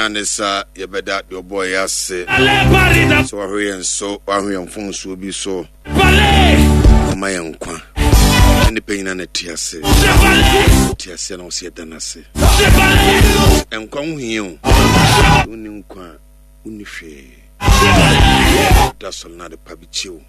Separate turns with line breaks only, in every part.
a ne sa yɛbɛda deɛ ɔbɔɔ yɛ ase sɛ wahwɛ yɛn so, wahwɛ yɛn mfomsoɔ bi so na ɔma yɛn nkwa. Na nipa nyina na te ase. Te ase na ɔsɛ yɛda no ase. Nkwa ho hia o. Wonni nkwa a, wonni hwee. Da sɔre na ade pa bi kye wo.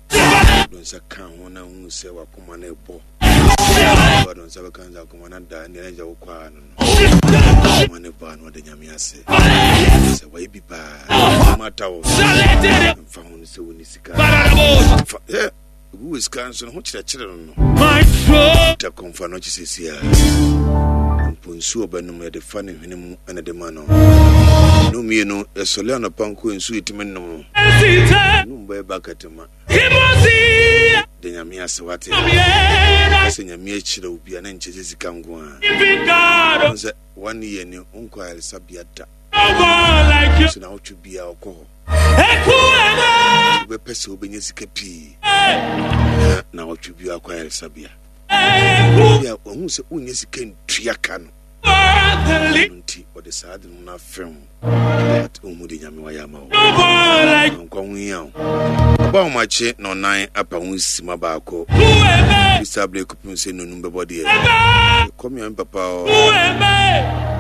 Do nsa ka ho na hu sɛ wakoma no ɛbɔ. Ɔde nsa bɛka nsa akoma no da ɛnna ɛgya wo kɔ ara no no. Akoma no bɔ ano ɔde nyame ase. Sɛ wɔyɛ bi paa. Mata wo. Mfa ho no sɛ wonni sika. Fa ɛ obi wɔ sika nso no ho kyerɛkyerɛ no no. Ta kɔmfa no akyi sɛsi a. Mpo nsuo ɔbɛnom yɛde fa ne hwene mu ɛna de ma no. No mmienu yɛsɔle anɔpa nko nsuo yɛtumi nom no. Nom bɛyɛ bucket ma. Da nyame ase wate. Ka sɛ nyame akyira wo bia na nkyɛ sɛ sika nko a. Sɛ one year ni wonkɔ ayaresabea da. So na wotwe bia ɔkɔ hɔ. Wobɛpɛ sɛ wobɛnya sika pii na na wotwe bia akɔ ayaresabea. Bia wahu sɛ wonyɛ sika ntua ka no. Ɛno nti ɔde saa ade no afɛm wo. But wohu de nyame wayɛ ama wo. Nkwa ho hia wo. Ɔba ahomakye na ɔnan apa ho sima baako. Bisa bere kɔpem sɛ nonum bɛbɔ deɛ. Yɛkɔ me papa hɔ.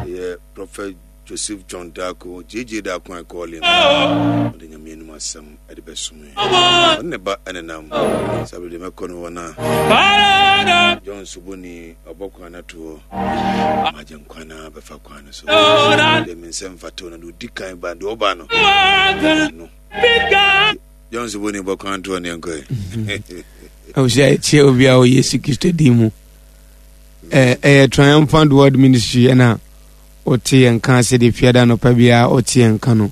Yɛ Prophet Joseph John Darko, JJ Darko I call him. Ɔde nyame anim asɛm ɛde bɛsom yɛn. Ɔne ne ba ɛnenam. Saa bere deɛ mɛkɔ no hɔ na John Soboni ɔbɔ kwan no ato hɔ. Magye nkwa no bɛfa kwan no so. Deɛ me nsɛm mfata na deɛ ɔdi kan ba deɛ ɔba no. No. John Soboni bɔ kwan to hɔ ne yɛnkɔ ɛ.
Abusua ɛkyɛ obi a ɔyɛ Yesu Kristo din mu. Ɛyɛ Triumphant World Ministry ɛna ɔte yɛn nka sɛdeɛ fiada anɔpa biara ɔte yɛn nka no.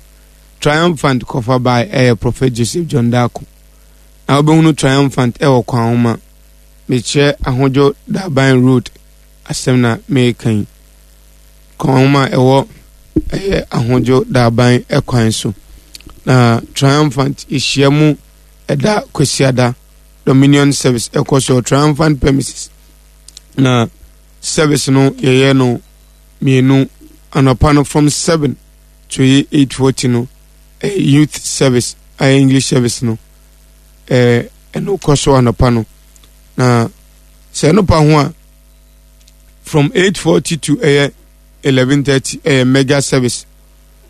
Triumphant kɔfa by ɛyɛ Prophet Joseph John Darko. Na wobɛhunu Triumphant ɛwɔ kwan homa. Mekyerɛ Ahodwo Daban Road asɛm na meka yi. Kwan homa ɛwɔ ɛyɛ Ahodwo Daban ɛkwan so. Na Triumphant yɛhyia mu ɛda Kwasiada Dominion Service ɛkɔ so Triumphant premises. Na service no yɛyɛ no mmienu anɔpa no from 7 to 8:40 no ɛyɛ youth service ɛyɛ English service no ɛɛ ɛno kɔ so anɔpa no na sɛ ɛno pa ho a from 8:40 to ɛyɛ 11:30 ɛyɛ mega service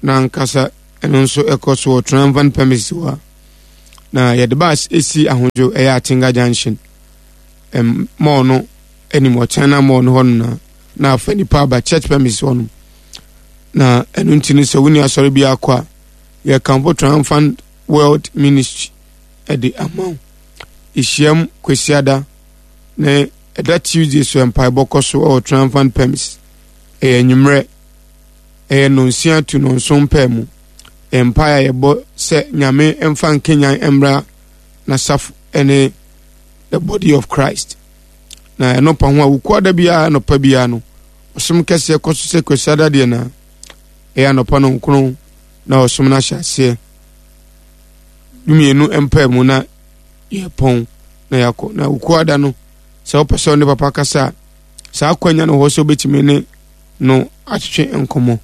na ankasa ɛno nso ɛkɔ so wɔ triumphant premises hɔ a na yɛde bus esi ahodwo ɛyɛ Atenga junction ɛm mall no anim wɔ China mall no hɔ no na na afa nipa aba church premises hɔ no na ɛno nti no sɛ wonni asɔre bi akɔ a yɛkamfo Triumphant World Ministry ɛde ama wo ehyiam Kwasiada ne ɛda Tuesday so mpaebɔ kɔ so wɔ Triumphant premises ɛyɛ anwummerɛ ɛyɛ nonsia to nonson pɛɛ mu mpae a yɛbɔ sɛ Nyame mfa nkenyan mmra n'asafo ɛne the body of Christ na ɛno pa ho a wukuada biara anɔpa biara no ɔsom kɛseɛ kɔ so sɛ kwasiada deɛ na ɛyɛ anɔpa no nkono na ɔsom no ahyɛ aseɛ dumienu mpaa mu na yɛpɔn na yɛakɔ na wukuada no sɛ wopɛ sɛ ɔne papa kasa a saa akwanya no hɔ sɛ wobɛtumi ne no atwetwe nkɔmmɔ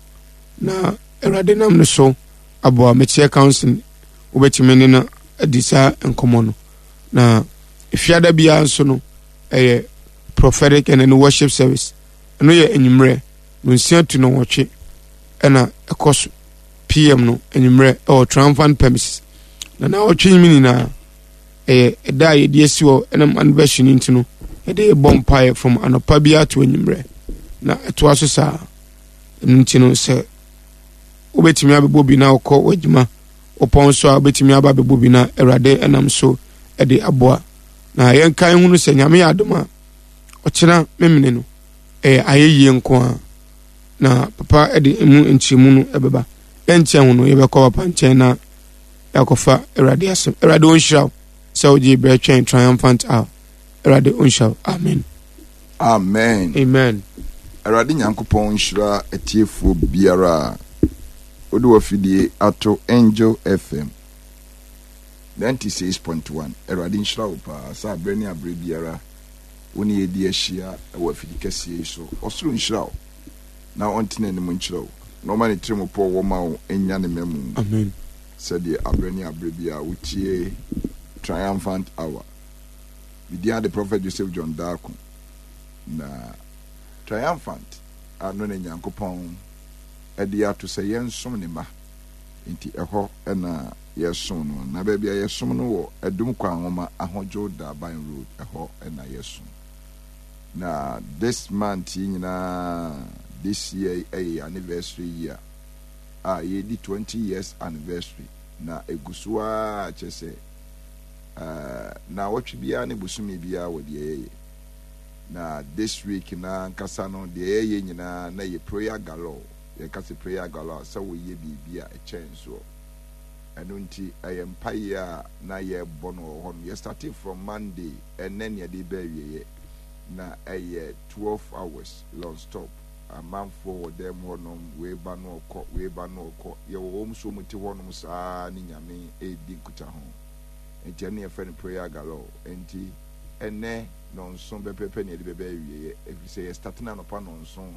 na awurade nam no so aboa mekyerɛ council wobɛtumi ne no adi saa nkɔmmɔ no na efiada biara nso no ɛyɛ prophetic and then worship service ɛno yɛ anwummerɛ no nsia tu no wɔtwe ɛna ɛkɔ so pm no anwummerɛ ɛwɔ triumphant premises na na wɔtwe mu nyinaa ɛyɛ ɛda a yɛde asi hɔ ɛnam anniversary no nti no yɛde bɔ mpaeɛ from anɔpa biara to anwummerɛ na ɛtoa so saa ɛno nti no sɛ wobɛtumi abɛbɔ bi na wokɔ w'adwuma wopɔn so a wobɛtumi aba abɛbɔ bi na awurade ɛnam so ɛde aboa na yɛnka hunu sɛ nyame yɛ adom a ɔkyena memene no ɛyɛ ayɛyie nko a na papa ɛde emu nkyerɛmu no ɛbɛba yɛnkyɛn ho no yɛbɛkɔ papa nkyɛn na yɛakɔfa awurade asɛm awurade ɔnhyira wo sɛ wogye berɛ twɛn triumphant hour awurade ɔnhyira wo amen.
Amen.
Amen.
Awurade Nyankopɔn nhyira atiefoɔ biara a wode w'afidie ato Angel FM 96.1. Awurade nhyira wo paa sɛ aberɛ ne aberɛ biara wo ne yɛdi ahyia wɔ afidi kɛseɛ yi so. Ɔsoro nhyira wo na ɔnte n'anim nkyerɛ wo. na ɔma ne tirimupɔ wɔ ma wo nya ne mmamu.
Amen.
Sɛdeɛ aberɛ ne aberɛ biara wotie Triumphant Hour. Me din ade Prophet Joseph John Darko. Na Triumphant ano na Nyankopɔn de ato sɛ yɛnsom ne mma. Nti ɛhɔ na yɛsom no. Na baabi a yɛsom no wɔ Adum Kwanwoma Ahodwo Daban Road, ɛhɔ na yɛsom. Na this month yi nyinaa, this year yi ɛyɛ yɛn anniversary year a yɛredi 20 years anniversary. Na egu so ara kyerɛ sɛ eh, naawɔtwe biara ne bosome biara wɔ deɛ yɛyɛ. Na this week na ankasa no deɛ yɛyɛ nyinaa na yɛ prayer galore. Yɛka sɛ prayer galore a sɛ woyɛ biribi a ɛkyɛn soɔ. Ɛno nti ɛyɛ mpaeɛ a na yɛrebɔ no wɔ hɔ no. Yɛ startee from Monday, ɛnnɛ ne yɛde reba awieɛ. Na ɛyɛ 12 hours non stop. Amanfoɔ wɔ dan mu hɔnom, wei ba no ɔkɔ, wei ba no ɔkɔ. Yɛwɔ wɔn nso wɔn te hɔnom saa ne Nyame redi nkutaho. Nti ɛno yɛfrɛ no prayer galore. Nti ɛnnɛ nɔnson pɛpɛɛpɛ ne yɛde bɛba awieɛ, ɛfiri sɛ yɛ starte no anɔpa nɔnson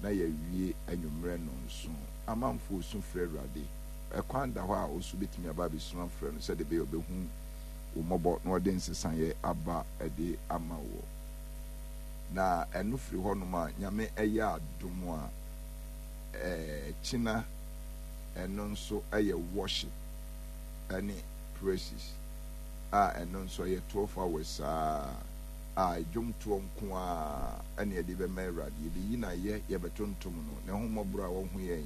na yɛawie anwummerɛ nɔnson. Amanfoɔ su frɛ Awurade. Ɛkwan da hɔ a wo nso wobɛtumi aba abɛsu afrɛ no sɛdeɛ ɛbɛyɛ ɔbɛhu wo mmɔbɔ na ɔde nsesaeɛ aba de ama woɔ. Na ɛno firi hɔnom a, Nyame ɛyɛ adom a, kyena ɛno nso ɛyɛ worship ɛne praises a ɛno nso ɛyɛ 12 hours saa a dwomtoɔ nko ara ɛne yɛde bɛma Awurade. Yɛbɛyi no ayɛ, yɛbɛtontom no, n'ahummɔborɔ a wahu yɛn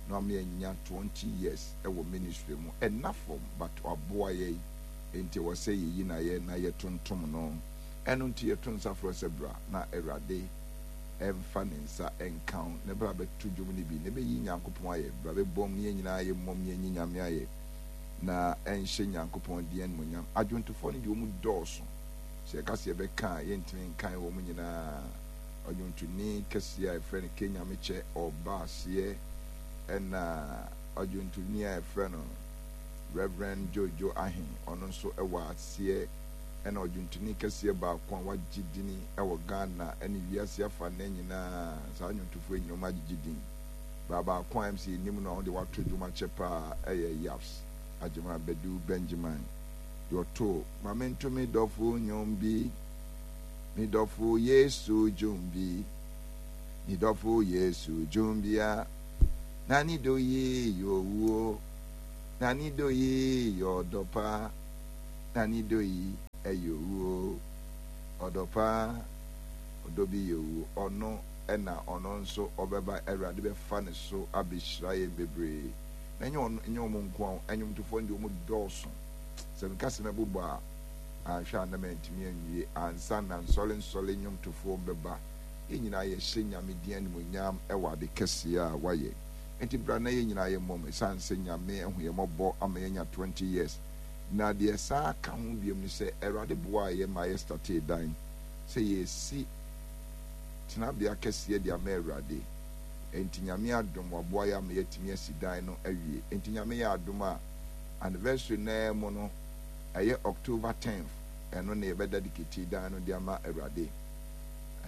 na wama yɛanya 20 years wɔ ministry mu. Ɛnna fam but waboa yɛn nti ɛwɔ sɛ yɛyi no ayɛ na yɛtontom no. Ɛno nti yɛto nsa frɛ wo sɛ bra na Awurade mfa ne nsa nka wo na bra bɛto dwom no bi na bɛyi Nyankopɔn ayɛ. Bra bɛbom na yɛn nyinaa yɛmmom na yɛnyi Nyame ayɛ na ɛnhyɛ Nyankopɔn din animuonyam. Adwontofoɔ no deɛ wɔn dɔɔso. Sɛ yɛka sɛ yɛbɛka a yɛntumi nkan wɔn nyinaa. Ɔdwontoni kɛseɛ a yɛfrɛ no K. Nyamekyɛ ɔreba aseɛ ɛna ɔdwontoni a yɛfrɛ no Rev. Jojo Ahen ɔno nso wɔ aseɛ ɛna ɔdwontoni kɛseɛ baako a wagye dini wɔ Ghana ɛne wiase afanaa nyinaa. Saa nnwontofoɔ yi nyinaa wɔn agyegye din. Baa baako a MC nim no a ɔno deɛ wato dwom akyɛ paa ɛyɛ Yaps Agyeman Badu Benjamin deɛ ɔtoo Ma mento me dɔfo nnwom bi. Me dɔfo Yesu dwom bi, me dɔfo Yesu dwom bi a, na ne dɔ yi yɛ owuo, na ne dɔ yi yɛ ɔdɔ pa, na ne dɔ yi yɛ owuo, ɔdɔ pa, ɔdɔ bi yɛ owuo. Ɔno na ɔno nso ɔbɛba, Awurade bɛfa ne so abɛhyira yɛn bebree. Na ɛnyɛ ɔno, ɛnyɛ wɔn nko ara, nnwomtofoɔ no deɛ wɔn dɔɔso. Sɛ meka sɛ mɛbobɔ a, anhwɛ a na mantumi anwie ansa na nsɔrensɔre nnwomtofoɔ bɛba. Yɛn nyinaa yɛhyɛ Nyame din animuonyam wɔ ade kɛseɛ a wayɛ. Enti bra na yɛn nyinaa yɛmmom ɛsiane sɛ Nyame ahu yɛn mmɔbɔ ama yɛanya 20 years. Na deɛ ɛsan ka ho biom ne sɛ Awurade boaa yɛn ma yɛ startee dan sɛ yɛresi tenabea kɛseɛ de ama Awurade. Enti Nyame adom waboa yɛn ama yɛatumi asi dan no awie. Enti Nyame yɛ adom a anniversary no ara mu no ɛyɛ October tenth, ɛno na yɛbɛ dedicate dan no de ama Awurade.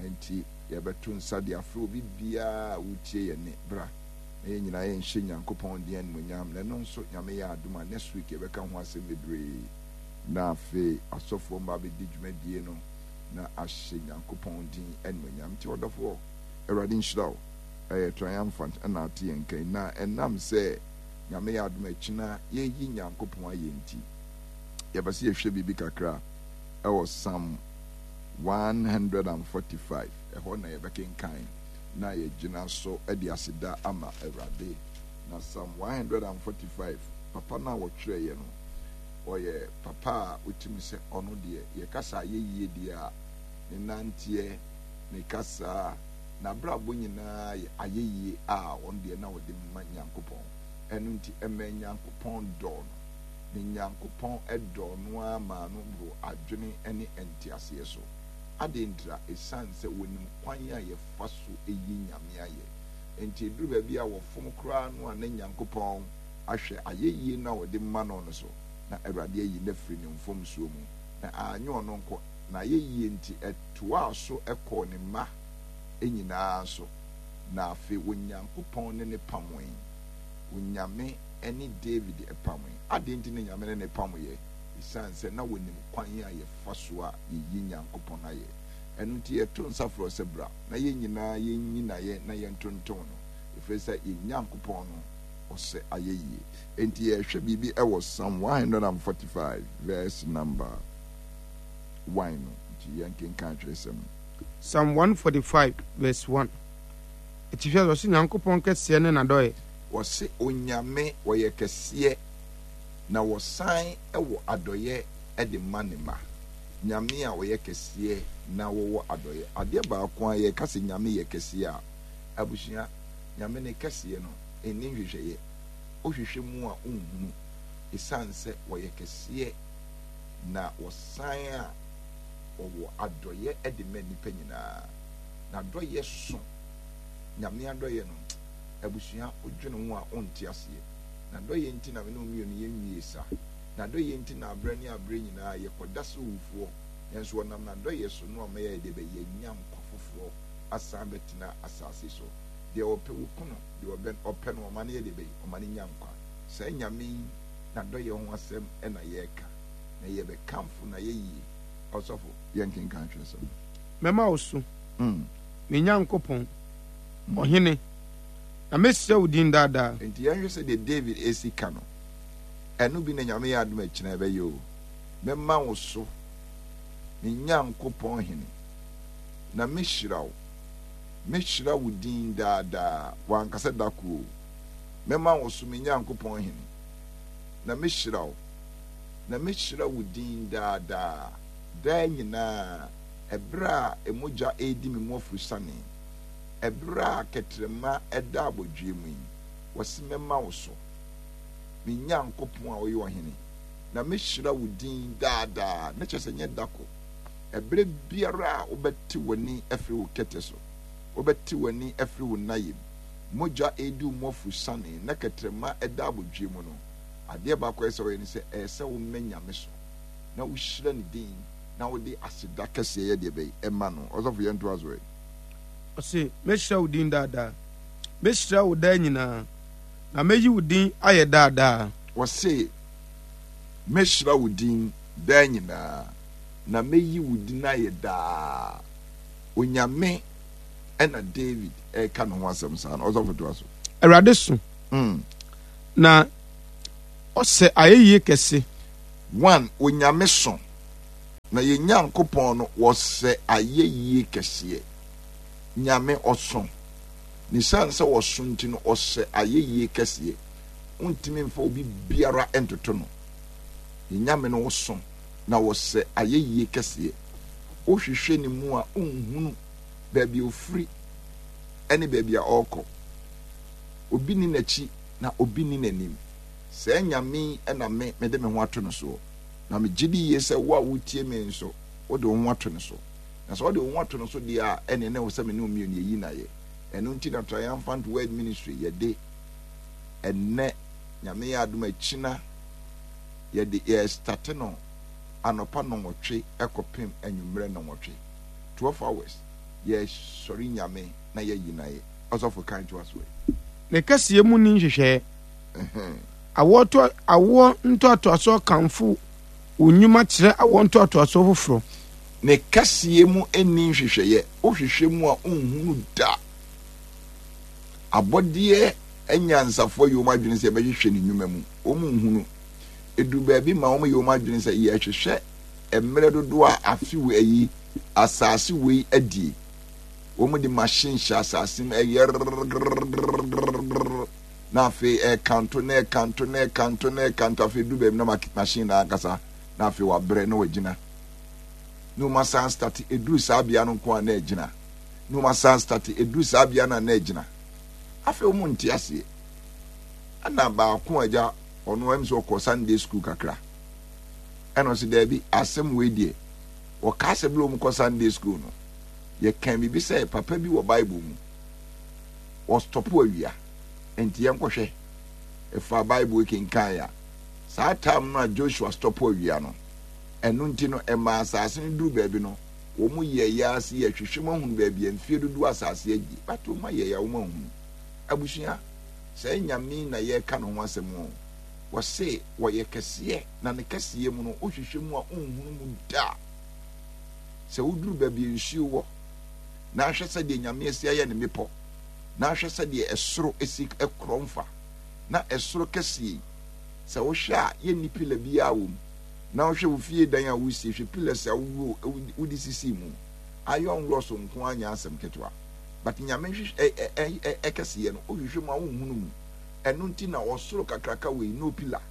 Ɛnti yɛbɛto nsa de afrɛ obi biara a wotie yɛn nne, bra na yɛn nyinaa yɛnhyɛ Nyankopɔn din animuonyam. Na ɛno nso Nyame yɛ adom a next week yɛbɛka ho asɛm bebree. Na afei asɔfoɔ mma abɛdi dwumadie no na ahyɛ Nyankopɔn din animuonyam. Nti ɔdɔfoɔ, Awurade nhyira wo. Ɛyɛ triumphant ɛna ate yɛn nka yi. Na ɛnam sɛ Nyame yɛ adom a ɛkyena yɛyi Nyankopɔn ayɛ nti, yɛpɛ sɛ yɛhwɛ biribi kakra ɛwɔ Psalm 145. Ɛhɔ na yɛbɛkenkan na yɛgyina so de aseda ama Awurade. Na Psalm 145, papa no a wɔtwerɛeɛ no, ɔyɛ papa a wotumi sɛ ɔno deɛ, yɛkasa ayɛyie deɛ a, ne nanteɛ, ne kasaa, N'abrabɔ nyinaa yɛ ayɛyie a ɔno deɛ na ɔde ma Nyankopɔn. Ɛno nti ɛmaa Nyankopɔn dɔɔ no. Na Nyankopɔn dɔɔ no ara maa no boroo adwene ne nteaseɛ so. Adɛn ntira? Ɛsiane sɛ wɔnim kwan a yɛfa so yi Nyame ayɛ. Enti ɛduru baabi a wɔfom koraa no a na Nyankopɔn ahwɛ ayɛyie no a ɔde ma no no so, na Awurade ayi no afiri ne mfomsoɔ mu. Na anyɛ ɔno nko, n'ayɛyie nti ɛtoaa so kɔɔ ne mma nyinaa so. Na afei Onyankopɔn ne no pamoe. Onyame ne David pamoe. Adɛn nti na Nyame ne no pamoeɛ? Esiane sɛ na wɔnim kwan a yɛfa so a yɛyi Nyankopɔn ayɛ. Ɛno nti yɛto nsa frɛ wo sɛ bra na yɛn nyinaa yɛnyi no ayɛ na yɛntontom no, ɛfiri sɛ yɛn Nyankopɔn no ɔsɛ ayɛyie. Enti yɛrehwɛ biribi wɔ Psalm 145 verse number 1 no, nti yɛnkenkan twerɛsɛm no.
Psalm 145 verse 1, Atifi ase, ɔse Nyankopɔn kɛseɛ ne n'adɔeɛ.
Wɔse Onyame ɔyɛ kɛseɛ na wɔsan wɔ adɔeɛ de ma ne mma. Nyame a ɔyɛ kɛseɛ na wɔwɔ adɔeɛ. Adeɛ baako a yɛka sɛ Nyame yɛ kɛseɛ a, abusua, Nyame ne kɛseɛ no nni nhwehwɛeɛ. Wohwehwɛ mu a wonhunu. Ɛsiane sɛ wɔyɛ kɛseɛ na wɔsan a wɔwɔ adɔeɛ de ma nnipa nyinaa. N'adɔeɛ so. Nyame adɔeɛ no, abusua, wodwene ho a wonte aseɛ. N'adɔeɛ nti na me ne wo mmienu yɛnwie sa. N'adɔeɛ nti na aberɛ ne aberɛ nyinaa yɛkɔda sɛ owufoɔ, nanso ɔnam n'adɔeɛ so no ama yɛayɛ deɛ bɛn? Yɛanya nkwa foforɔ asan abɛtena asase so. Deɛ ɔpɛ wɔku no, deɛ ɔbɛ, ɔpɛ no ɔma no yɛ deɛ bɛn? Ɔma no nya nkwa. Saa Nyame yi n'adɔeɛ ho asɛm na yɛreka, na yɛbɛkamfo n'ayɛyie. Ɔsɔfo, yɛnkenkan twerɛsɛm no.
Mɛma wo so, me Nyankopɔn, Ɔhene, na mɛhyira wo din daa daa.
Enti yɛnhwɛ sɛdeɛ David si ka no. Ɛno bi na Nyame yɛ adom a ɛkyena ɛbɛyɛ o. Mɛma wo so, me Nyankopɔn Hene, na mɛhyira wo. Mɛhyira wo din daa daa. Wanka sɛ da koro o. Mɛma wo so, me Nyankopɔn Hene, na mɛhyira wo. Na mɛhyira wo din daa daa, daa nyinaa, ɛberɛ a mogya redi me mu afurusane, ɛberɛ a kɛtrɛma da abɔdweɛ mu yi, wɔse mɛma wo so. Me Nyankopɔn a woyɛ ɔhene, na mɛhyira wo din daa daa. Na kyerɛ sɛ nyɛ da ko. Ɛberɛ biara a wobɛte w'ani afiri wo kɛtɛ so, wobɛte w'ani afiri wo nnaeɛ mu, mogya redi wo mu afurusane, na kɛtrɛma da abodwoeɛ mu no, adeɛ baako a ɛsɛ sɛ woyɛ ne sɛ, ɛyɛ sɛ womɛ Nyame so, na wohyira ne din, na wode aseda kɛseɛ yɛ deɛ bɛn? Ɛma no. Ɔsɔfo yɛntoa so ɛ.
Ɔse, Mɛhyira wo din daa daa. Mɛhyira wo daa nyinaa. Na mɛyi wo din ayɛ daa daa.
Ɔse, Mɛhyira wo din daa nyinaa, na mɛyi wo din ayɛ daa. Onyame ɛna David ɛreka ne ho asɛm saa no. Ɔsɔfo toa so.
Awurade so, na ɔsɛ ayɛyie kɛse.
One, Onyame so, na yɛn Nyankopɔn no wɔsɛ ayɛyie kɛseɛ. Nyame ɔso. Na esiane sɛ ɔso nti no, ɔsɛ ayɛyie kɛseɛ. Wontumi mfa obi biara ntoto no. Yɛn Nyame no ɔso, na ɔsɛ ayɛyie kɛseɛ. Wohwehwɛ ne mu a, wonhunu baabi a ɔfiri ne baabi a ɔrekɔ. Obi nni n'akyi na obi nni n'anim. Saa Nyame yi na me, mede me ho ato no soɔ. Na megye di yie sɛ wo a woretie me nso, wode wo ho ato no so. Na sɛ wode wo ho ato no so deɛ a, ɛnneɛ na ɛwɔ sɛ me ne wo mmienu yɛyi no ayɛ. Ɛno nti na Triumphant Word Ministry yɛde ɛnnɛ, Nyame yɛ adom a akyina, yɛde yɛrestate no anɔpa nnɔnwɔtwe kɔpem anwummerɛ nnɔnwɔtwe, 12 hours, yɛresɔre Nyame na yɛayi no ayɛ. Ɔsɔfo kan toa so ɛ.
Ne kɛseyɛ mu nni nhwehwɛeɛ. Awoɔ ntoatoasoɔ kamfo wo nnwuma kyerɛ awoɔ ntoatoasoɔ foforɔ.
Ne kɛseyɛ mu nni nhwehwɛeɛ, wohwehwɛ mu a wonhunu da. Abɔdeɛ anyansafoɔ yɛ wɔn adwene sɛ yɛbɛhwehwɛ ne nnwuma mu, wɔn nhunu. Ɛduru baabi ma wɔn yɛ wɔn adwene sɛ yɛhwehwɛ mmerɛ dodoɔ a afe wei ayi asase wei adie. Wɔn de machine hyɛ asase mu ɛyɛ na afei ɛkanto na ɛkanto na ɛkanto na ɛkanto afei du baabi na machine na ankasa na afei wabrɛ na wagyina. Na wɔn asan start eduru saa bea no nko a na ɛgyina na wɔn asan start eduru saa bea no a na ɛgyina afei wɔn nte aseɛ ɛna baako agya ɔno ɛm sɛ ɔkɔ Sunday school kakra ɛna ɔsɛ daabi asɛm wei deɛ wɔkaa sɛ bere wɔn kɔ Sunday school no yɛkan biribi sɛ papa bi wɔ Bible mu wɔstɔpo awia nti yɛnkɔhwɛ ɛfa Bible kenkan a saa time no a Joshua stɔpo awia no. Ɛno nti no, ɛmaa asase no duruu baabi no, Wɔn yɛeɛ ara se yɛhwehwɛ mu ahunu baabi a mfie dodoɔ asase agye but wɔn ayɛeɛ a wɔn anhunu. Abusua, saa Nyame yi na yɛreka ne ho asɛm o. Wɔse wɔyɛ kɛseɛ na ne kɛseyɛ mu no wohwehwɛ mu a wonhunu mu da. Sɛ woduru baabi a nsuo wɔ na ahwɛ sɛdeɛ Nyame asi ayɛ ne mmepɔ na ahwɛ sɛdeɛ ɛsoro si korɔn fa na ɛsoro kɛseɛ yi sɛ wohwɛ a yɛnni pila biara wɔ mu na wohwɛ wo fie dan a wosie hwɛ pillars a wode sisii mu iron rods nko ara nyɛ asɛm ketewa but Nyame nhwehwɛ ɛkɛseyɛ no wohwehwɛ mu a wonhunu mu. Ɛno nti na ɔsoro kakraka wei no pillar.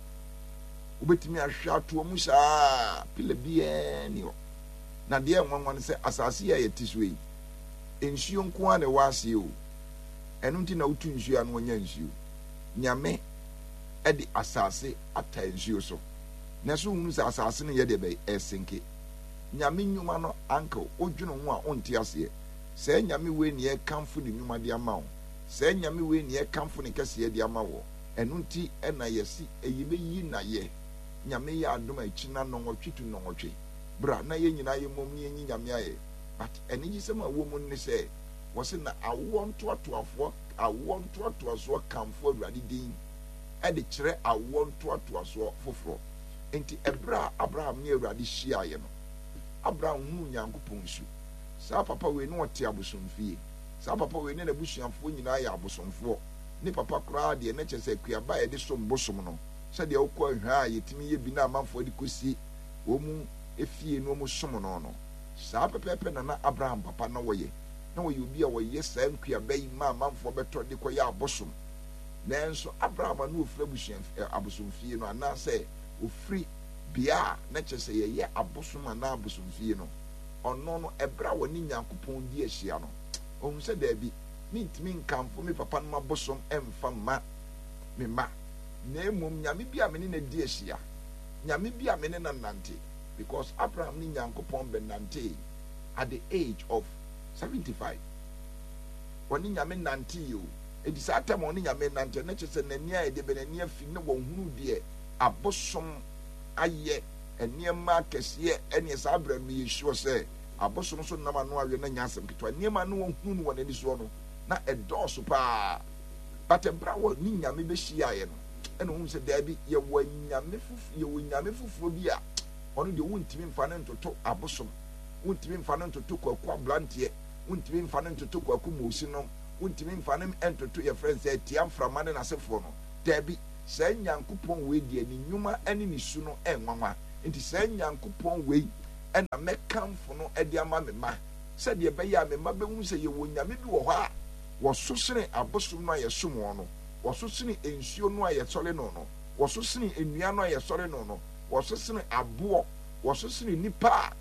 Wobɛtumi ahwehwɛ atoa mu saa, pillar biara nni hɔ. Na deɛ ɛnwanwa no sɛ asase yi a yɛte so yi, nsuo nko ara na ɛwɔ aseɛ o. Ɛno nti na wotu nsuo a na wɔnya nsuo. Nyame de asase ata nsuo so. Na so wohunu sɛ asase no yɛ deɛ bɛyɛ ɛsenke. Nyame nnwuma no uncle, wodwene ho a wonte aseɛ. Saa Nyame wei na yɛkamfo ne nnwuma de ama wo. Saa Nyame wei na yɛkamfo ne kɛseyɛ de ama woɔ. Ɛno nti na yɛse yɛbɛyi no ayɛ. Nyame yɛ adom a ɛkyina nnɔnwɔtwe to nnɔnwɔtwe. Bra na yɛn nyinaa yɛmmom na yɛnyi Nyame ayɛ. But anigyesɛm a ɛwɔ mu ne sɛ, wɔse na awoɔ ntoatoafoɔ, awoɔ ntoatoasoɔ kamfo Awurade din de kyerɛ awoɔ ntoatoasoɔ foforɔ. Enti ɛberɛ a Abraham ne Awurade hyiaeɛ no, Abraham hunuu Nyankopɔn su. Saa papa wei na ɔte abosomfie. Saa papa wei ne n'abusuafoɔ nyinaa yɛ abosomfoɔ. Ne papa koraa deɛ, na kyerɛ sɛ akuaba a yɛde som bosom no, sɛdeɛ wokɔ ahwa a yɛtumi yɛ bi na amanfoɔ de kɔsi wɔn fie na wɔsom no no, saa pɛpɛɛpɛ na na Abraham papa na ɔyɛ. Na ɔyɛ obi a ɔyɛ saa nkuaba yi ma amanfoɔ bɛtɔ de kɔyɛ abosom. Nanso Abraham a na ɔfiri abusua abosomfie no, anaasɛ ɔfiri bea a na kyerɛ sɛ yɛyɛ abosom anaa abosomfie no, ɔno no, ɛberɛ a ɔne Nyankopɔn di ahyia no, ɔhunu sɛ, Daabi, mentumi nkamfo me papa nom abosom mfa mma me mma, na mmom Nyame bi a me ne no adi ahyia, Nyame bi a me ne no anante, because Abraham ne Nyankopɔn bɛnantee at the age of 75. Ɔne Nyame nantee o. Enti saa tam a ɔne Nyame nante no, na kyerɛ sɛ n'ani ayɛ deɛ bɛ, n'ani afi, na wahunu deɛ abosom ayɛ. Nneɛma akɛseɛ ɛneɛ saa berɛ no meyɛ sure sɛ abosom so nam ano awe na nyɛ asɛm ketewa. Nneɛma a na wɔhunu no wɔ n'ani soɔ no na ɛdɔɔso paa. But ɛberɛ a wɔne Nyame bɛhyiaeɛ no ɛna ɔhunu sɛ daabi yɛwɔ anyame foforɔ, yɛwɔ Nyame foforɔ bi a ɔno deɛ wontumi mfa no ntoto abosom, wontumi mfa no ntoto Kwaku Abranteɛ, wontumi mfa no ntoto Kwaku Moosi nom, wontumi mfa no ntoto yɛfrɛ no sɛ Atia Mframa ne n'asefoɔ no. Daabi. Saa Nyankopɔn wei deɛ, ne nnwuma ne ne su no yɛ nwanwa. Enti saa Nyankopɔn wei na mɛkamfo no de ama me mma, sɛdeɛ ɛbɛyɛ a me mma bɛhunu sɛ yɛwɔ Nyame bi wɔ hɔ a wɔso sene abosom no a yɛsom wɔn no, wɔso sene nsuo no a yɛsɔre no no, wɔso sene nnua no a yɛsɔre no no, wɔso sene aboɔ, wɔso sene nnipa a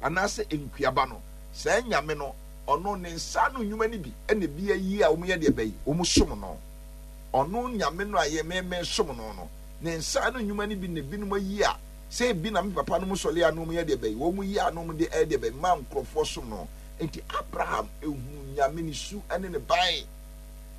anaasɛ nkuaba no. Saa Nyame no, ɔno ne nsa ano nnwuma no bi na ebi ayi a wɔyɛ deɛ bɛyi, wɔsom no. Ɔno Nyame no a yɛ me me som no no, ne nsa ano nnwuma no bi na ebinom ayi a, sɛ ebi na me papa nom sɔle a na wɔn yɛ deɛ bɛyi, wɔn yi a na wɔn de ɛyɛ deɛ bɛyi ma nkorɔfoɔ som no. Enti Abraham ehunu Nyame ne su ne ne ban,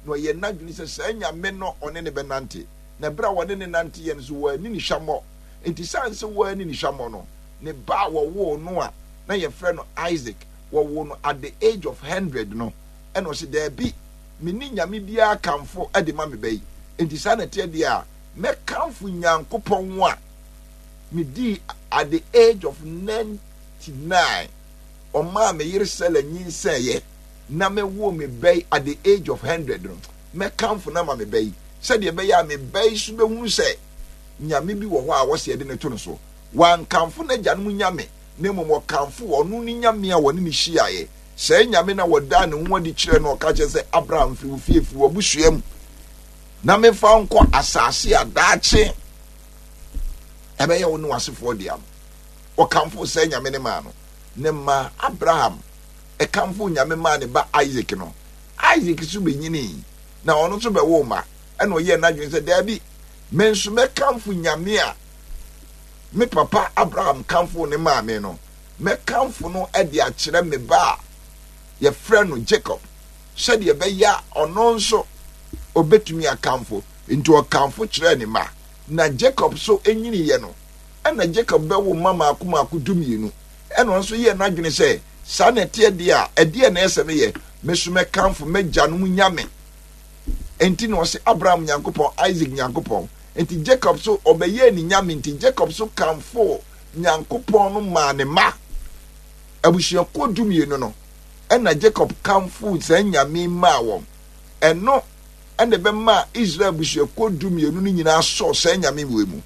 na ɔyɛ n'adwene sɛ saa Nyame no ɔne no bɛnante, na ɛberɛ a wɔne no nante yɛ no nso wɔanni no hwammɔ. Enti sane sɛ wɔanni no hwammɔ no, ne ba a wɔwoo no a na yɛfrɛ no Isaac, wɔwoo no at the age of hundred no, ɛna ɔse daabi, Menni nyame biara kamfo de ma me ba yi, enti saa na ɛteɛ deɛ a, mɛkamfo Nyankopɔn a medii at the age of 99, ɔmaa me yere Sela nyinsɛeɛ na mewoo me ba yi at the age of 100 no, mɛkamfo no ama me ba yi, sɛdeɛ ɛbɛyɛ a me ba yi so bɛhunu sɛ Nyame bi wɔ hɔ a wɔsɛ yɛde no to no so. Wankamfo n'agyanom nyame, na mmom ɔkamfoo ɔno ne Nyame a wɔne no hyiaeɛ. Saa Nyame no a wɔdaa ne ho adi kyerɛɛ no, ɔka kyerɛ sɛ, Abraham, firi wo fie, firi w'abusua mu, na memfa wo nkɔ asase a daakye ɛbɛyɛ wo ne w'asefoɔ dea no. Ɔkamfoo saa Nyame no maa no. Ne mma Abraham ɛkamfoo Nyame maa ne ba Isaac no, Isaac nso bɛnyinii, na ɔno nso bɛwoo mma. Ɛna ɔyɛɛ n'adwene sɛ, daabi, me nso mɛkamfo Nyame a me papa Abraham kamfoo ne maa me no. Mɛkamfo no de akyerɛ me ba a yɛfrɛ no Jacob, sɛdeɛ ɛbɛyɛ a ɔno nso ɔbɛtumi akamfo. Enti ɔkamfo kyerɛɛ ne mma. Na Jacob nso nyiniiɛ no, ɛnna Jacob bɛwo mma mmaako mmaako dumienu. Ɛna ɔno nso yɛɛ n'adwene sɛ, Saa na ɛteɛ deɛ a, ɛdeɛn na ɛyɛ sɛ meyɛ? Me nso mɛkamfo m'agyanom nyame. Enti na ɔse Abraham Nyankopɔn, Isaac Nyankopɔn. Enti Jacob nso, ɔbɛyɛɛ ne nyame nti, Jacob nso kamfoo Nyankopɔn no maa ne mma. Abusuakuo dumienu no, ɛna Jacob kamfoo saa nyame yi maa wɔn. Ɛno ɛna ɛbɛmaa Israel abusuakuo dumienu no nyinaa sɔɔ saa nyame wei mu.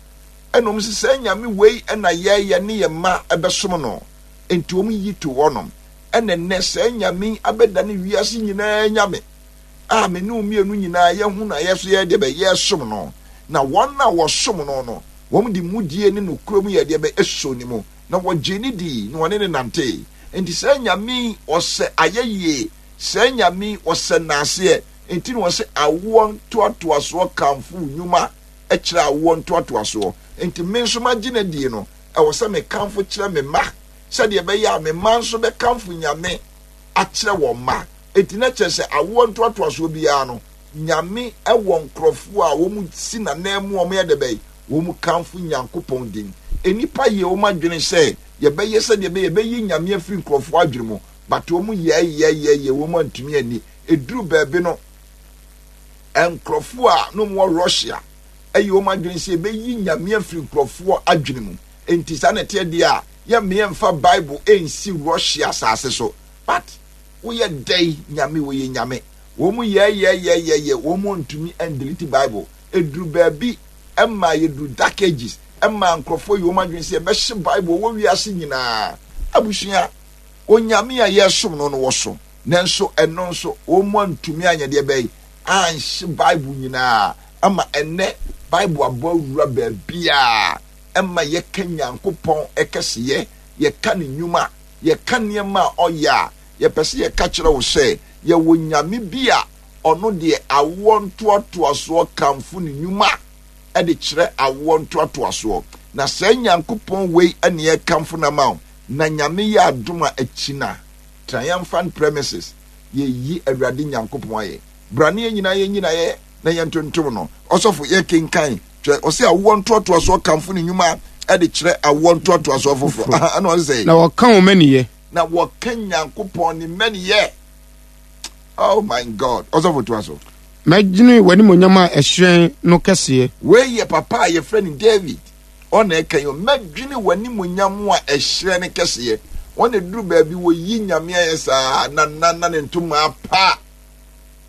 Ɛna wɔn se saa nyame wei ɛna yɛ yɛne yɛn mma ɛbɛsom no. Enti wɔn yi too hɔnom. Ɛna nnɛ saa nyame yi abɛdane wiase nyinaa nyame a me ne wo mmienu nyinaa yɛhu no a yɛ nso yɛyɛ deɛ bɛ yɛsom no. Na wɔn a wɔsom no no, wɔn de mudie ne nokorɛ mu yɛɛ deɛ bɛ ɛsoo ne mu, na wɔgyee no dii, na wɔne no nantee. Enti saa nyame yi ɔsɛ ayɛyie, saa nyame yi ɔsɛ nnaaseɛ. Enti na wɔse awoɔ ntoatoasoɔ kamfo wo nnwuma kyerɛ awoɔ ntoatoasoɔ. Enti me nso magye no adie no, ɛwɔ sɛ mekamfo kyerɛ me mma, sɛdeɛ ɛbɛyɛ a me mma nso bɛkamfo Nyame akyerɛ wɔn mma. Enti na kyerɛ sɛ awoɔ ntoatoasoɔ biara no, Nyame wɔ nkorɔfoɔ a wɔn si n'ananmu a wɔyɛ dɛbɛn? Wɔn kamfo Nyankopɔn din. Nnipa yɛ wɔn adwene sɛ yɛbɛyɛ sɛdeɛ ɛbɛyɛ yɛbɛyi Nyame afiri nkorɔfoɔ adwene mu, but wɔn yɛɛyɛɛyɛɛyɛ wɔn antumi anni. Ɛduru baabi no, nkorɔfoɔ a na wɔn wɔ Russia yɛ wɔn adwene sɛ yɛbɛyi Nyame afiri nkorɔfoɔ adwene mu. Enti saa na ɛteɛ deɛ a, yɛmma yɛmfa Bible nsi Russia asase so. But woyɛ dɛn Nyame wɔyɛ Nyame. Wɔn yɛɛyɛɛyɛɛyɛ wɔn ntumi ndelete Bible. Ɛduru baabi ɛma yɛduru dark ages ɛma nkorɔfoɔ yɛ wɔn adwene sɛ yɛbɛhye Bible wɔ wiase nyinaa. Abusua, Onyame a yɛresom no no wɔso. Nanso ɛno nso wɔn antumi anyɛ deɛ bɛyɛ anhye Bible nyinaa ama ɛnnɛ Bible abɔ awura baabiara ɛma yɛka Nyankopɔn kɛseyɛ, yɛka ne nnwuma, yɛka nneɛma a ɔyɛ a, yɛpɛ sɛ yɛka kyerɛ wo sɛ yɛwɔ Nyame bi a ɔno deɛ awoɔ ntoatoasoɔ kamfo ne nnwuma de kyerɛ awoɔ ntoatoasoɔ. Na saa Nyankopɔn wei ne yɛkamfo no ama wo, na Nyame yɛ adom a akyina Triumphant Premises, yɛyi Awurade Nyankopɔn ayɛ. Bra ne yɛn nyinaa yɛnyi no ayɛ na yɛntontom no. Ɔsɔfo, yɛkenkan kyerɛ, ɔsɛ awoɔ ntoatoasoɔ kamfo ne nnwuma de kyerɛ awoɔ ntoatoasoɔ foforɔ. Aha, ɛna ɔsɛ sɛ.
Na wɔka wɔn mmaniyɛ.
Na wɔka Nyankopɔn ne mmaniyɛ. Oh my God. Ɔsɔfo toa so.
Mɛdwene w'animuonyam a ɛhyerɛn no kɛseɛ.
Wei yɛ papa a yɛfrɛ no David. Ɔna ɛka yi, mɛdwene w'animuonyam a ɛhyerɛn no kɛseɛ. Wɔn na ɛduru baabi wɔyi Nyame ayɛ saa na na na ne ntoma apa.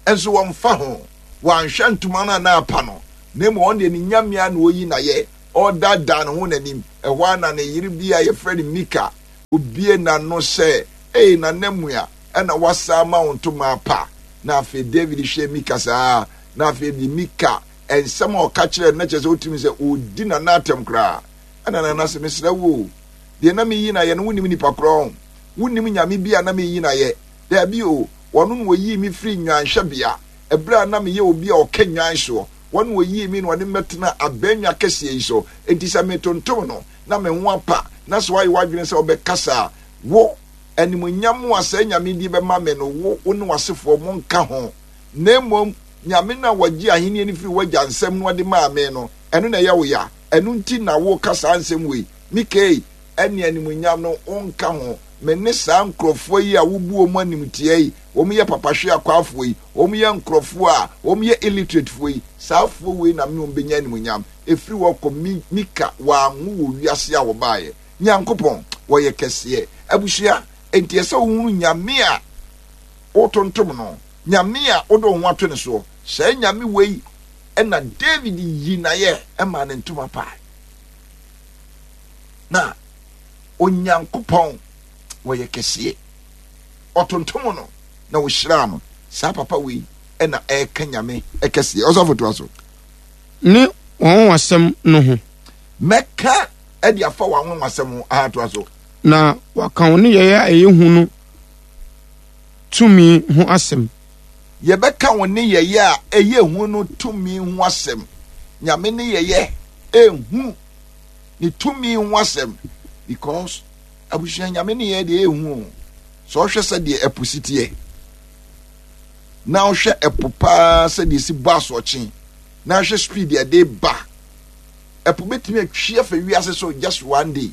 Nso wɔmfa ho. Wɔanhwɛ ntoma no a na apa no, na mmom ɔno deɛ ne Nyame a na ɔyi n'ayɛ, ɔredaadaa ne ho n'anim. Ɛhɔ ara na ne yere bi a yɛfrɛ no Mika, obue n'ano sɛ, Ei, Nana Mua, ɛna woasan ama wo ntoma apa? Na afei David hwɛɛ Mika saa, na afei de Mika nsɛm a ɔka kyerɛɛ no, na kyerɛ sɛ wotumi sɛ ɔredi Nana atɛm koraa. Ɛna Nana sɛ, mesrɛ wo o, deɛ na meyi no ayɛ no, wonnim nipa korɔ ho. Wonnim Nyame bi a na meyi no ayɛ. Daabi o, ɔno na ɔyii me firii nnwanhwɛbea, ɛberɛ a na meyɛ obi a ɔka nnwan soɔ. Ɔno na ɔyii me na ɔde me bɛtenaa abannwa kɛseɛ yi so. Enti sɛ metontom no, na me ho apa, na sɛ woayɛ w'adwene sɛ wobɛkasa a, wo, animuonyam a saa nyame yi de bɛma me no, wo, wo ne w'asefoɔ monka ho. Na mmom Nyame no a ɔgyee ahennie no firii w'agya nsam na ɔde maa me no, ɛno na ɛyɛ wo ya? Ɛno nti na woreka saa nsɛm wei? Mikei, ɛnneɛ animuonyam no, wonka ho. Me ne saa nkurɔfoɔ yi a wobu wɔn animtia yi, wɔn yɛ papahweakwaafoɔ yi, wɔn yɛ nkurɔfoɔ a wɔn yɛ illiteratefoɔ yi, saa foɔ wei na me ne wɔn bɛnya animuonyam. Ɛfiri hɔ kɔ, Mi, Mika, wɔanwo wɔ wiase a wɔbaeɛ. Nyankopɔn, wɔyɛ kɛseɛ. Abusua, enti ɛsɛ wohunu Nyame a wotontom no, Nyame a wode wo ho ato ne soɔ. Saa Nyame wei na David yii n'ayɛ maa ne ntoma pae. Na Onyankopɔn wɔyɛ kɛseɛ. Ɔtontom no na ɔhyiraa no. Saa papa wei na ɛreka Nyame kɛseɛ. Ɔsɔfo toa so.
Ne w'anwanwasɛm no ho.
Mɛka de afa w'anwanwasɛm ho. Aha, toa so.
Na waka wo nneyɛeɛ a ɛyɛ hu no tumi ho asɛm.
Yɛbɛka wo nneyɛeɛ a ɛyɛ hu no tumi ho asɛm. Nyame nneyɛeɛ ɛhu ne tumi ho asɛm because abusua Nyame nneyɛeɛ deɛ ɛhu o. Sɛ ɔhwɛ sɛdeɛ ɛpo si teɛ na ɔhwɛ ɛpo paa sɛdeɛ ɛsi bɔ asoɔkye na ahwɛ speed ɛde ba ɛpo bɛtumi atwi afa wiase so just one day.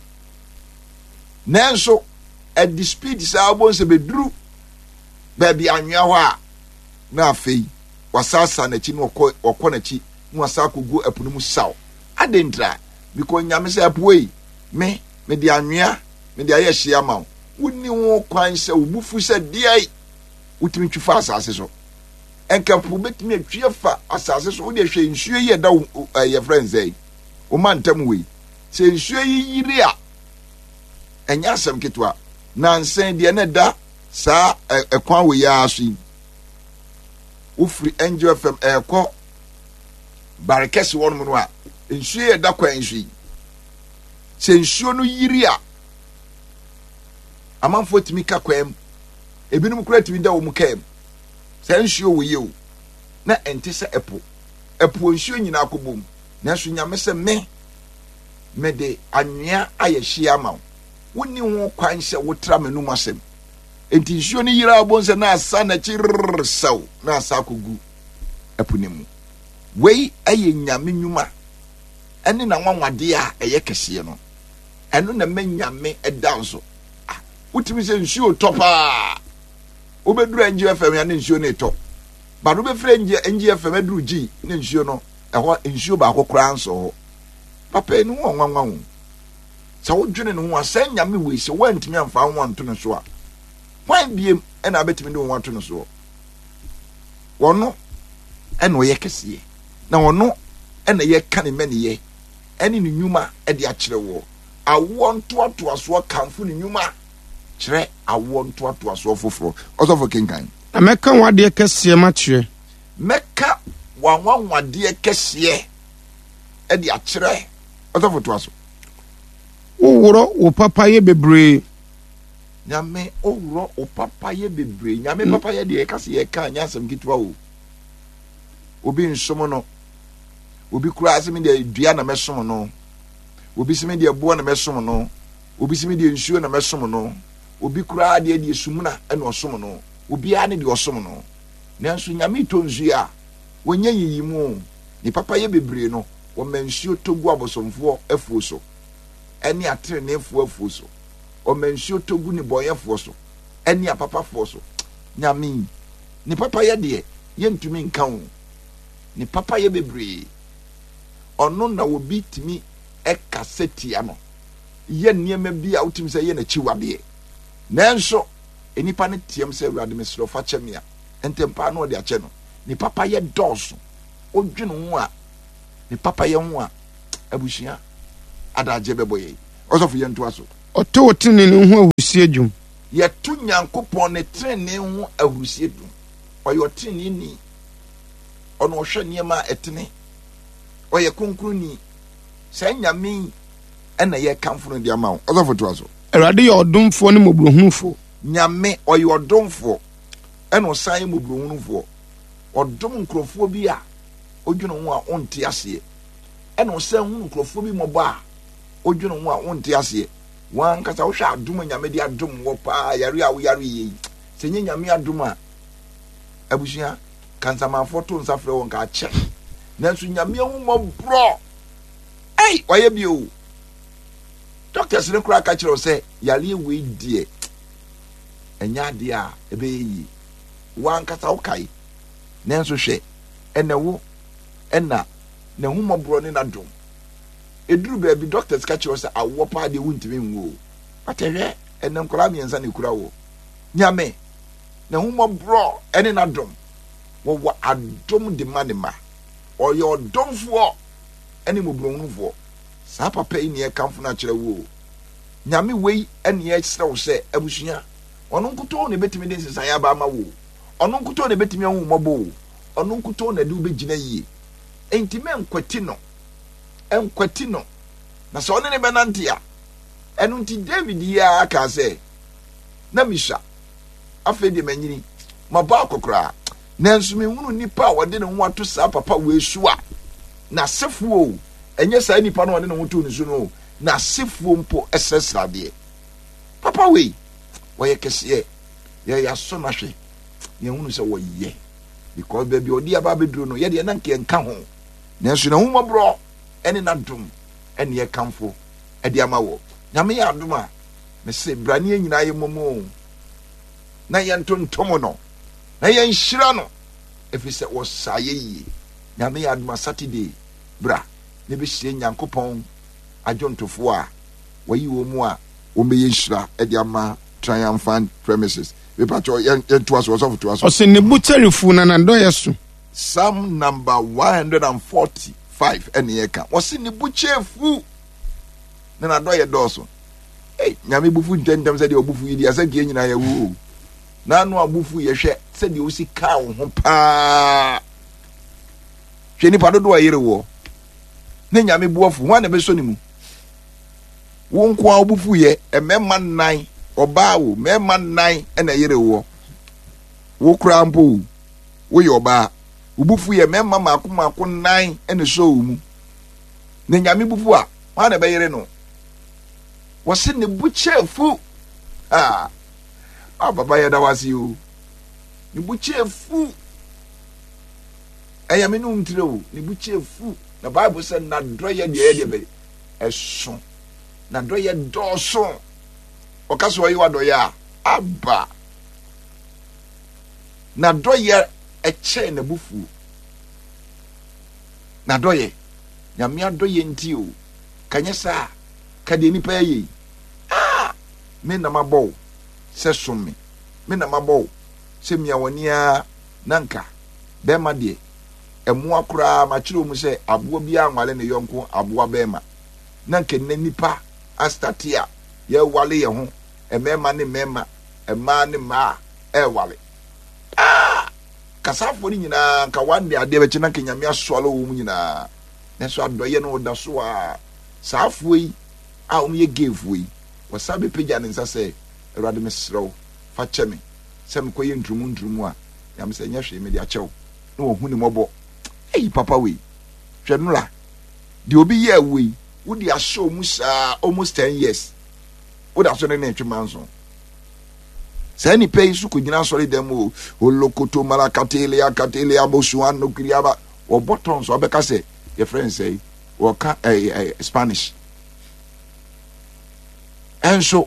Nanso. Ɛde speed saa wobɛhu sɛ bɛduru baabi anwea hɔ a, na afei wasaasa n'akyi na ɔkɔ ɔkɔ n'akyi na wasa akɔgu ɛpo no mu saw. Adɛn ntira? Because Nyame sɛ ɛpo ei, me mede anwea mede ayɛ hye ama wo. Wonni ho kwan sɛ wo bo fu sɛ deɛn wotumi twi fa asase so. Nka po bɛtumi atwi afa asase so. Wodeɛ hwɛ nsuo yi ɛda wo yɛfrɛ no sɛ wo mantam wei. Sɛ nsuo yi yiri a, ɛnyɛ asɛm ketewa. Nansa deɛ na ɛda saa ɛkwan wei ara so yi, wofiri Angel FM ɛrekɔ Barekɛse hɔnom no a, nsuo yi ɛda kwan so yi, sɛ nsuo no yiri a, amanfoɔ tumi ka kwan mu, ebinom koraa tumi da wɔn kaa mu. Saa nsuo wɔ yie o, na ɛnte sɛ ɛpo. Ɛpo nsuo nyinaa kɔ bom, nanso Nyame sɛ me, mede anwea ayɛ hyeɛ ama wo. Wonni ho kwan sɛ wotra m'anum asɛm. Enti nsuo no yera wobɛhu sɛ na asa n'akyi rrrr sɛw na asa akɔgu ɛpo no mu. Wei yɛ Nyame nnwuma ɛne n'anwanwadeɛ a ɛyɛ kɛseɛ no. Ɛno na ɛma Nyame da nso. Ah, wotumi sɛ nsuo tɔ paa. Wobɛduru NG FM ya ne nsuo no retɔ. But wobɛfiri NG FM aduru G ne nsuo no ɛhɔ nsuo baako koraa nsɔ hɔ. Papa yi ne ho ɔnwanwa o. Sɛ wodwene ne ho a, saa Nyame wei sɛ woantumi amfa wo ho anto no so a, hwan biem ɛna abɛtumi de wo ho ato no soɔ? Ɔno ɛna ɔyɛ kɛseɛ, na ɔno ɛna yɛka ne mmaniyɛ ɛne ne nnwuma ɛde akyerɛ woɔ. Awoɔ ntoatoasoɔ kamfo ne nnwuma kyerɛ awoɔ ntoatoasoɔ foforɔ. Ɔsɔfo kenkan.
Na mɛka w'adeɛ kɛseɛ makyerɛ.
Mɛka w'anwanwadeɛ kɛseɛ ɛde akyerɛ. Ɔsɔfo toa so.
Woworɔ wo papayɛ bebree.
Nyame woworɔ wo papayɛ bebree. Nyame mm. papayɛ deɛ yɛka sɛ yɛka nyɛ asɛm ketewa o. Obi nsom no. Obi koraa sɛ me deɛ dua na mɛsom no. Obi sɛ me deɛ boɔ na mɛsom no. Obi sɛ me deɛ nsuo na mɛsom no. Obi koraa deɛ deɛ sumina na ɔsom no. Obiara ne deɛ ɔsom no. Nanso Nyame tɔ nsuo a, wɔnyɛ nyiyimu o. Ne papayɛ bebree no, wɔma nsuo tɔ gu abosomfoɔ afuo so ne ateneneefoɔ afuo so. Wɔma nsuo tɔ gu nnebɔneyɛfoɔ so ne apapafoɔ so. Nyame yi, ne papayɛ deɛ, yɛntumi nka o. Ne papayɛ bebree. Ɔno na obi tumi kasa tia no, yɛ nneɛma bi a wotumi sɛ yɛ n'akyiwadeɛ. Nanso, nnipa no team sɛ, Awurade, mesrɛ wo, fa kyɛ me a, ntɛm paa na ɔde akyɛ no. Ne papayɛ dɔɔso. Wodwene ho a, ne papayɛ ho a, abusua adagyeɛ bɛbɔ yɛn. Ɔsɔfo, yɛntoa so.
Ɔto wo tenenee ho ahurusie dwom.
Yɛto Nyankopɔn ne tenenee ho ahurusie dwom. Ɔyɛ ɔteneneeni. Ɔno ɔhwɛ nneɛma a ɛtene. Ɔyɛ kronkronni. Saa Nyame yi ɛna yɛkamfo no de ama wo. Ɔsɔfo toa so.
Awurade yɛ ɔdomfoɔ ne mmɔborɔhunufoɔ.
Nyame, ɔyɛ ɔdomfoɔ ɛna ɔsan yɛ mmɔborɔhunufoɔ. Ɔdom nkurɔfoɔ bi a wodwene ho a wonte aseɛ. Ɛna ɔsan hunu nkurɔfoɔ bi mmɔbɔ a wodwene ho a wonte aseɛ. W'ankasa wohwɛ adom a Nyame de adom wɔ paa, yare a woyare yɛ yi, sɛ nyɛ Nyame adom a, abusua, kansamanfoɔ to nsa frɛ wɔn ka akyɛ. Nanso Nyame ahummɔborɔ, ei, wayɛ bi o. Doctors no koraa ka kyerɛ wo sɛ yareɛ wei deɛ ɛnyɛ adeɛ a ɛbɛyɛ yie. W'ankasa wokae. Nanso hwɛ, ɛnɛ wo ɛna n'ahummɔborɔ ne n'adom. Ɛduru baabi doctors ka kyerɛ wo sɛ awoɔ paa deɛ wontumi nwo o. But hwɛ, ɛnɛ nkwadaa mmiɛnsa na ɛkura wo. Nyame, n'ahummɔborɔ ne n'adom, wɔwɔ adom de ma ne mma. Ɔyɛ ɔdomfoɔ ne mmɔborɔhunufoɔ. Saa papa yi ne yɛkamfo no akyerɛ wo o. Nyame wei ne yɛsrɛ wo sɛ abusua, ɔno nkutoo na ɛbɛtumi de nsesaeɛ aba ama wo o. Ɔno nkutoo na ɛbɛtumi ahu wo mmɔbɔ o. Ɔno nkutoo na ɛde wo bɛgyina yie. Enti mɛnkwati no. Nkwati no. Na sɛ ɔne ne bɛnante a, ɛno nti David yi ara kaa sɛ, Na misua, afei deɛ manyini, mabɔ akɔkoraa, nanso menhunu nipa a ɔde ne ho ato saa papa wei so a n'asefoɔ o, ɛnyɛ saa nipa no a ɔde ne ho too ne so no o, n'asefoɔ mpo srɛsrɛ adeɛ. Papa wei, ɔyɛ kɛseɛ, yɛyɛ asɔ no ahwɛ, na yɛhunu sɛ wɔyɛ, because baabi a ɔde aba abɛduro no, yɛdeɛ na nka yɛnka ho, nanso n'ahummɔborɔ ne n'adom ne yɛkamfo de ama wɔ. Nyame yɛ adom a, Mese bra ne yɛn nyinaa yɛmmɔ mu o, na yɛntontom no, na yɛnhyira no, ɛfiri sɛ wɔsaa yɛ yie. Nyame yɛ adoma Saturday, bra na bɛhyia Nyankopɔn adwontofoɔ a wɔayi wɔn mu a wɔbɛyɛ nhyira de ama Triumphant Premises. Mepakyɛ yɛntoa so, ɔsɔfo toa so.
Ɔse ne bo kyɛre fu na n'adɔeɛ so.
Psalm number 145 ɛne yɛka. Wɔse ne bo kyɛre fu na n'adɔeɛ dɔɔso. Ei, Nyame bo fu ntɛmntɛm sɛdeɛ ɔbo fu yi deɛ, asɛ nka yɛn nyinaa yɛwu o. N'ano a bo fu yɛ hwɛ sɛdeɛ osi kaa wo ho paa. Hwɛ nipa dodoɔ a ɛyere woɔ. Ne Nyame bo afu, hwan na ɛbɛsɔ ne mu? Wo nko a wo bo fu yɛ, mmarima nnan, ɔbaa o, mmarima nnan na ɛyere woɔ. Wo koraa mpo o, woyɛ ɔbaa. Wo bo fu yɛ mmarima mmaako mmaako nnan na ɛsɔ wo mu. Na Nyame bo fu a, hwan na ɛbɛyere no? Wɔse ne bo kyɛɛ fu. Ah, ah papa yɛda wo ase o. Ne bo kyɛɛ fu. Ɛyɛ me ne wo ntire o. Ne bo kyɛɛ fu. Na Bible sɛ n'adɔyɛ deɛ ɛyɛ deɛ bɛyɛ ɛso. N'adɔyɛ dɔɔso. Ɔka sɛ ɔyɛ w'adɔyɛ a, aba. N'adɔyɛ ɛkyɛn n'abufuo. N'adɔyɛ. Nyame adɔyɛ nti o. Ka nyɛ saa a, ka deɛ nnipa yɛ yi. Ah! Me na mabɔ wo sɛ som me. Me na mabɔ wo sɛ mia w'ani ara na nka bɛrima deɛ, mmoa koraa makyerɛ wɔn sɛ aboa biara nwale ne yɔnko aboa bɛrima. Na nka nnɛ nnipa astate a yɛrewale yɛn ho, mmarima ne mmarima, mmaa ne mmaa ɛrewale. Ah! Kasafoɔ no nyinaa nka one day adeɛ bɛkye na nka Nyame aswallow wɔn nyinaa. Nanso adɔeɛ no ɔda so ara. Saa afoa yi a wɔyɛ gayfoɔ yi, wɔsan bɛpagya ne nsa sɛ, Awurade mesrɛ wo, fa kyɛ me sɛ mekɔyɛ nturumu nturumu a, Nyame sɛ, nyɛ hwee, mede akyɛ wo. Na wahu ne mmɔbɔ. Ei, papa wei, hwɛ Nora, deɛ obi yɛɛ wo yi, wode ahyɛ wo mu saa almost 10 years, woda so ne ne retwe manso. Saa nipa yi nso kɔgyina asɔre dan mu o, olokoto marakatelea katelea bosuan nokiriaba, wɔbɔ tɔn so abɛka sɛ yɛfrɛ no sɛe wɔka ɛɛ ɛɛ spanish ɛnso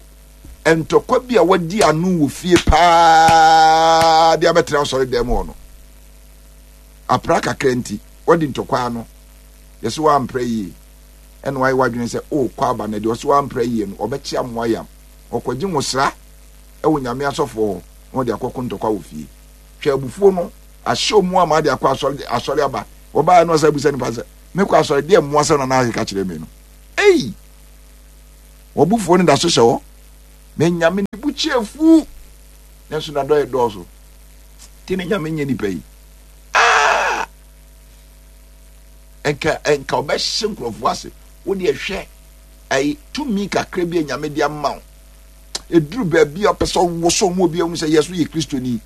ntɔkwa bi a wɔadi ano wɔ fie paa de abɛtena asɔre dɛm hɔ no apra kakra nti wɔde ntɔkwa ano yɛsɛ wɔampra yie ɛna wɔayɛ wɔadwene sɛ ɔrekɔ aba na deɛ ɔsɛ wɔampra yie no ɔbɛkye amoa yam ɔkɔgye nwosra ɛwɔ nyame asɔfoɔ hɔ na wɔde akɔko ntɔkwa wɔ fie hwɛ abufuo no ahyɛ ɔmu ama de akɔ asɔre asɔre aba wɔbaeɛ no ɔsɛ abusa nipa sɛ mekɔ asɔre deɛ mmoa sɛ nana akeka kyerɛ me no ei wɔbufuo no da so hyɛ hɔ na nyame ne bu kyɛ fu nanso nadɔyɛ dɔɔso nti ne nyame nyɛ nipa yi ah! nka nka ɔbɛhyɛ nkurɔfoɔ ase wo deɛ hwɛ ɛyi tumi kakra bi a nyame de ama wo ɛduru baabi a ɔpɛ sɛ ɔwoso mu obi ahu sɛ yɛ so yɛ kristoni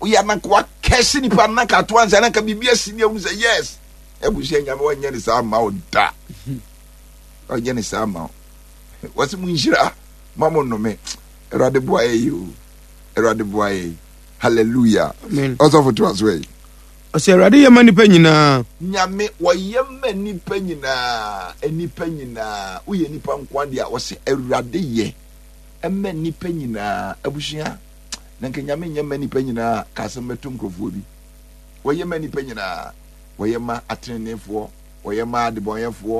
woyɛ ananka wakɛse nipa ananka ato ansa ananka biribi asi ne ahu sɛ yes abusua nyame wɔnyɛ ne saa ma wo da ɔnyɛ ne saa ma wo wɔse mo nhyira ma mo nnome awurade boa yɛ yi o awurade boa yɛ yi hallelujah ɔsɔfo to aso yi
ɔsɛ awurade yɛ ma nipa nyinaa
nyame wɔyɛ ma nipa nyinaa nipa nyinaa woyɛ nipa nkoa deɛ a wɔsɛ awurade yɛ ɛma nipa nyinaa abusua Na nka Nyame nyɛ mma nnipa nyinaa a, ka asɛm bɛto nkurɔfoɔ bi. Wɔyɛ ma nnipa nyinaa. Wɔyɛ ma ateneneefoɔ, wɔyɛ ma adebɔnyɛfoɔ.